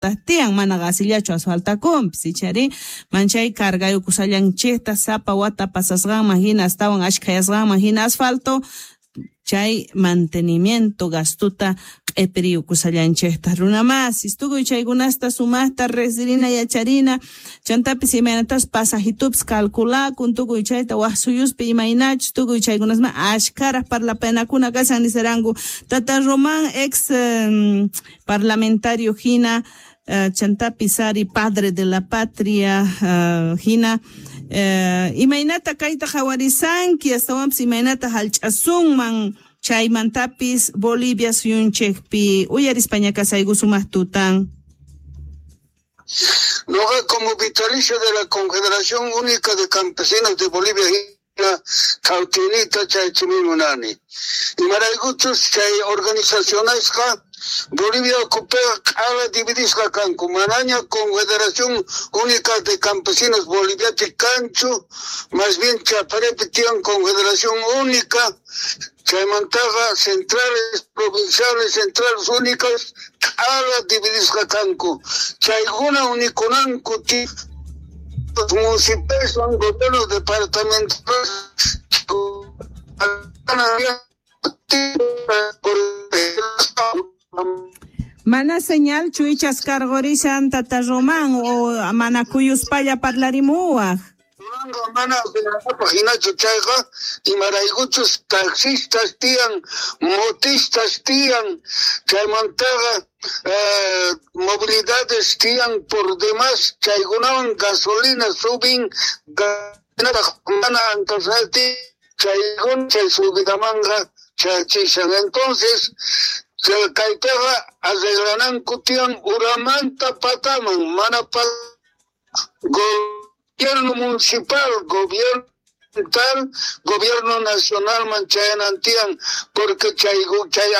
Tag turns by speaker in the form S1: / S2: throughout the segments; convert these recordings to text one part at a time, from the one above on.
S1: Tiyan mana qasillachu asfaltakunpis ichari manchay cargayukusallanchikta sapa wata pasasqanman hina astawan ashkhayasqanman hina asfalto chay mantenimiento gastuta q'ipiriyukusallanchikta runamasis tukuy chaykunasta sumaqta riqsirina yacharina chantapis imaynatas pasajitupis calculakun tukuy chayta waj suyuspi imaynachus tukuy chaykunasma ashkharaj parlapayanakuna kashan nisaranku tata Román ex parlamentario hina chantapis ari padre de la patria hina imaynata kayta qhawarisanki astawanpis imaynata hallch'asunman chaymantapis Bolivia suyunchikpi uyarispaña kasayku sumaq tutan.
S2: Noqa como vitalicio de la Confederación Única de Campesinos de Bolivia hina qhawtinita chaychimi munani. Imaraykuchus chay organizacionesqa Bolivia ukhupiqa q'ala dividisqa kanku, manaña Confederación Única de Campesinos Boliviapi kanchu, más bien Chaparepi tiyan Confederación Única, chaymantaqa centrales provinciales, centrales únicas q'ala dividisqa kanku. Chaykuna unikunanku los municipios son gobiernos departamentales.
S1: Mana señal chuichas cargorishan tata Román o mana kuyuspalla parlarimuwaj.
S2: Mana hinachu chayqa imaraykuchus taxistas tiyan, motistas tiyan, chaymantaqa movilidades tiyan por demás, chaykunawan gasolina subin, mana antasati, chaykuna chay subidamanqa chaychishan. Entonces, kaytaqa arreglananku tiyan uramanta pataman, mana gobierno municipal, gobierno tal, gobierno nacional man chayanantian, porque chay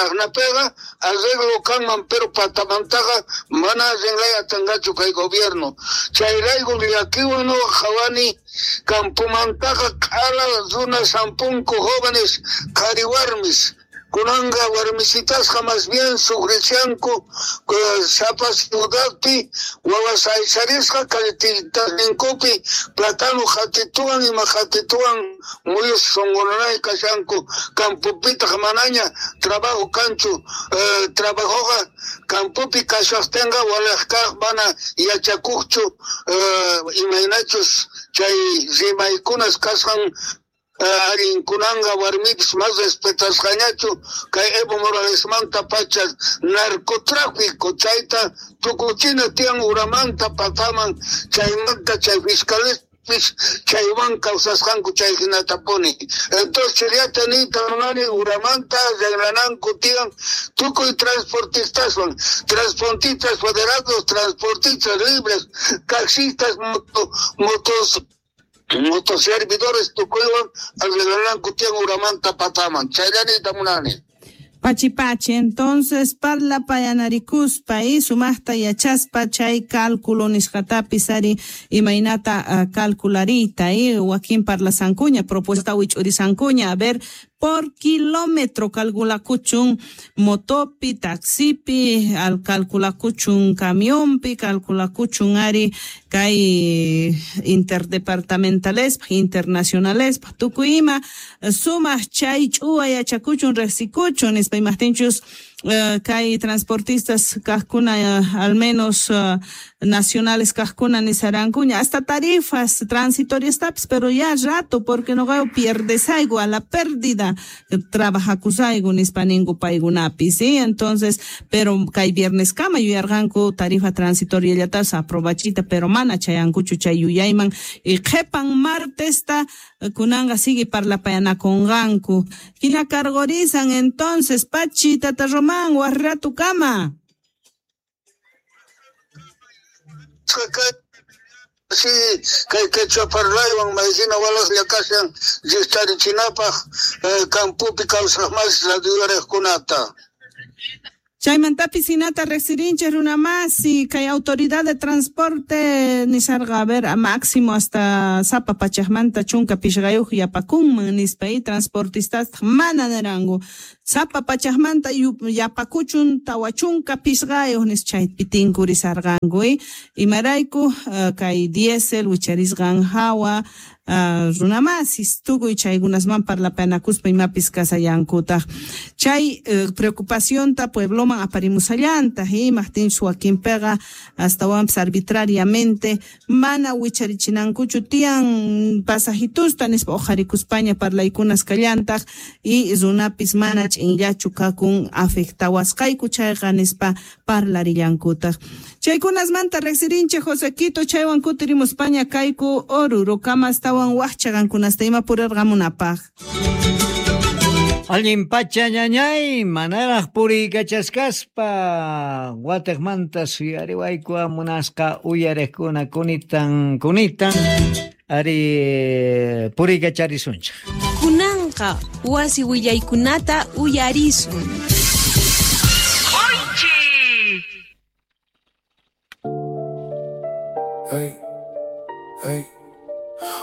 S2: aqnapega arreglo kanman, pero patamantaqa mana arreglay atangachu kay gobierno. Chayrayku llakiwan nuqa qhawani campomantaqa q'ala runa sampunku jóvenes qhari warmis. Kunanqa warmisitasqa más bien sufrichanku sapa ciudadpi wawas aysarisqa calletitasninkupi platano qhatituwan ima qhatituwan muyus sunqunanay kashanku campopitaq manaña trabajo kanchu, trabajoqa campopi kashaqtinqa walej kaq mana yachakuqchu imaynachus chay rimaykunas kasqan allinkunanqa warmipis mas respetasqañachu kay Evo Moralesmanta pacha narcotráfico chayta tukuchina tiyan uramanta pataman chaymanta chay fiscales chaywan kawsasqanku chay hinatapuni. Entonces chayllata niyta munani uramanta arreglananku tiyan tukuy transportistaswan, transportistas federados, transportistas libres, taxistas, motos motoservidores tukuywan arreglananku tiyan uramanta pataman. Chayllanita munani.
S1: Pachi pachi, entonces parlapayanarikuspa y sumaqta yachaspa chay cálculo nisqatapis ari imaynata calcularita y wakin parlasankuña propuesta wich'urisankuña a ver por kilómetro calculakuchun motopi, taxipi, al calculakuchun camionpi, calculakuchun ari kay interdepartamentalespa, internacionalespa, tukuy ima sumaq chay ch'uwa yachakuchun riqsikuchun nispa imajtinchus kay transportistas kajkuna al menos nacionales kajkuna nisarankuña hasta tarifas transitorias tapis, pero ya rato porque no pierdesayku a la pérdida trabajakusayku nispa ninku paykunapi, ¿sí? Entonces, pero kay viernes kama yuyarqanku tarifa transitoria llatas aprobachita, pero mana chayankuchu chay yuyayman y qhepan martesta kunanqa sigue parlapayanakunqanku hina cargorizan entonces pachi tata Román warratu kama.
S2: Sí, kay quechua parlaywan maysina walaqlla kashan ristarichinapaq campopi kawsaq mas radiolariqkunata.
S1: Chaymantapis hinata riqsirinchik runamasi kay autoridad de transporte nisarqa a ver a máximo hasta sapa pachaqmanta chunka pishqayuq yapakunman nispa y transportistas mana niranku. Sapa pachajmanta yapakuchun 45 nis chaypi tinkurisarqanku. Imarayku kay diésel wicharisqan hawa runamasis tukuy chaykunasman parlapanakuspa imapis kasallankutaq. Chay preocupacionta puebloman aparimusallantaq, imajtinchus wakinpiqa astawanpis arbitrariamente mana wicharichinankuchu tiyan pasajitusta nispa uqharikuspaña parlaykunas kallantaq y runapis mana ch'inllachu kakun afectawasqayku chayqa nispa parlarillankutaq. Chaykunasmanta riqsirinchik Josequito, chaywan kutirimuspaña kayku Orurokama astawan waqchaqankunasta ima purirqamunapaq.
S3: Allin pacha ñañay, manaraq puriykachasqaspa watiqmanta suyariwayku munasqa uyariqkuna kunitan kunitan ari puriykacharisunchik.
S4: Kunanqa wasi willaykunata uyarisun.
S5: Hey, hey.